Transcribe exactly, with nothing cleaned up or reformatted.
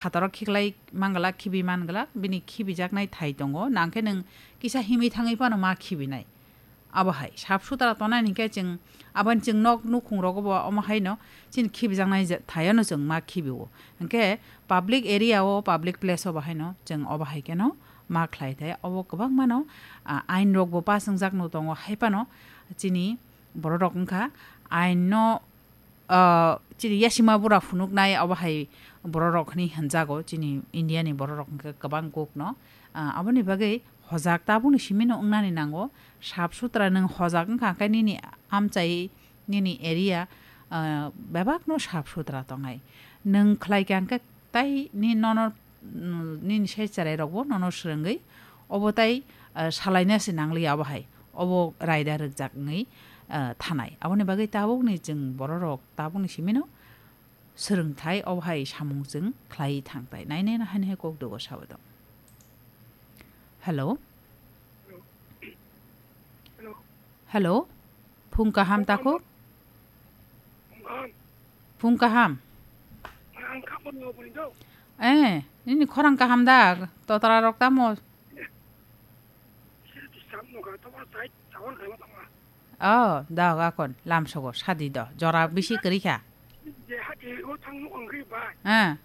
phataro khiklai mangala, khibi mangala, bini khibijaknai thai tongo. Nangkhe nwng kisa himwi thangwi phano ma khibinai. Abo hai, sap sutra tongnai hinkhe chwng, aboni chwng nok nukhung rogo bo omo haino chini khibijaknai je-, thaio no chwng ma khibio. Hinkhe public area o, public place o bo haino chwng obo hai kheno ma khlai thai. Obo kwbangma no, ah, ain rok bo pass wngjak no tongo, hai phano chini borok rok wngkha ain no, ah, chini yasima bura phunuknai obo hai borok rok hinwi hinjago chini India ni borok rok hinkhe kwbang kuk no. Ah, aboni bagwi hojak tabukni simi no wngnani nango. Sap sutra nwng hojak wngkha khe nini amchai, nini area, ah, bebak no sap sutra tongnai. Nwng khlai kha hinkhe tai ni nono, mm, nini sai cherai rok bo nono swrwngwi obo tai, ah, salaina se nangliya obo hai. Obo raida rwkjak wngwi, ah, thanai. Aboni bagwi tabukni chwng borok rok tabukni simi no swrwngthai obo hai samung chwng khlai thangtai. Nai nai no haino hai kok dogo sabo tong. Hello? Hello? Phung kaham takhuk? Phung kaham? Eh, nini khorang kaham da? Totra rok tamo? Oh, da, akon lamsogo sadi do. Jora bisi kwrwi kha. Ah.